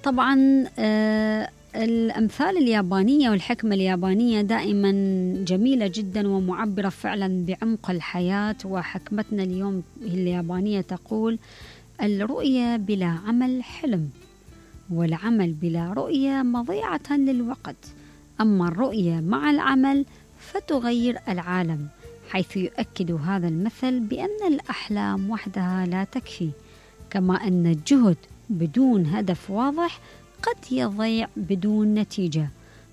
طبعا الأمثال اليابانية والحكمة اليابانية دائما جميلة جدا ومعبرة فعلا بعمق الحياة. وحكمتنا اليوم اليابانية تقول: الرؤية بلا عمل حلم، والعمل بلا رؤية مضيعة للوقت، أما الرؤية مع العمل فتغير العالم. حيث يؤكد هذا المثل بأن الأحلام وحدها لا تكفي، كما أن الجهد بدون هدف واضح قد يضيع بدون نتيجة.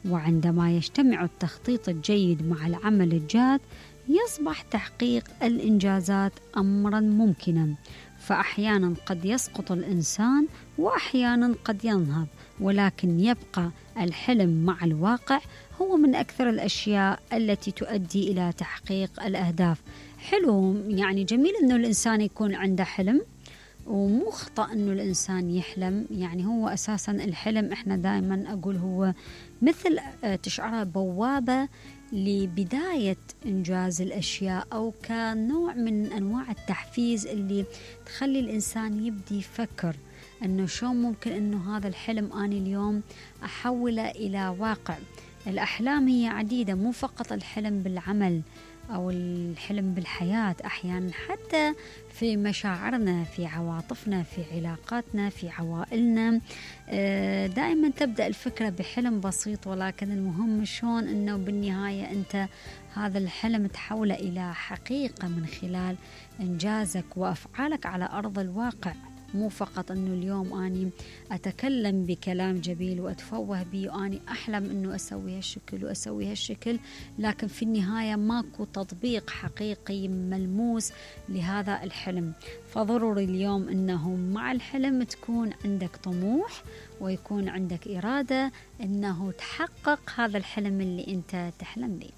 وعندما يجتمع التخطيط الجيد مع العمل الجاد يصبح تحقيق الإنجازات أمرا ممكنا. فأحيانا قد يسقط الإنسان وأحيانا قد ينهض، ولكن يبقى الحلم مع الواقع هو من أكثر الأشياء التي تؤدي إلى تحقيق الأهداف. حلو، يعني جميل أنه الإنسان يكون عنده حلم، ومو خطأ أنه الإنسان يحلم. يعني هو أساسا الحلم إحنا دائما أقول هو مثل تشعرها بوابة لبداية إنجاز الأشياء، أو كنوع من أنواع التحفيز اللي تخلي الإنسان يبدي يفكر أنه شو ممكن أنه هذا الحلم أنا اليوم أحوله إلى واقع. الأحلام هي عديدة، مو فقط الحلم بالعمل أو الحلم بالحياة، أحيانا حتى في مشاعرنا، في عواطفنا، في علاقاتنا، في عوائلنا. دائما تبدأ الفكرة بحلم بسيط، ولكن المهم شلون أنه بالنهاية أنت هذا الحلم تحوله إلى حقيقة من خلال إنجازك وأفعالك على أرض الواقع. مو فقط أنه اليوم أني أتكلم بكلام جميل وأتفوه به وأني أحلم أنه أسوي هالشكل وأسوي هالشكل، لكن في النهاية ماكو تطبيق حقيقي ملموس لهذا الحلم. فضروري اليوم أنه مع الحلم تكون عندك طموح ويكون عندك إرادة أنه تحقق هذا الحلم اللي أنت تحلم به.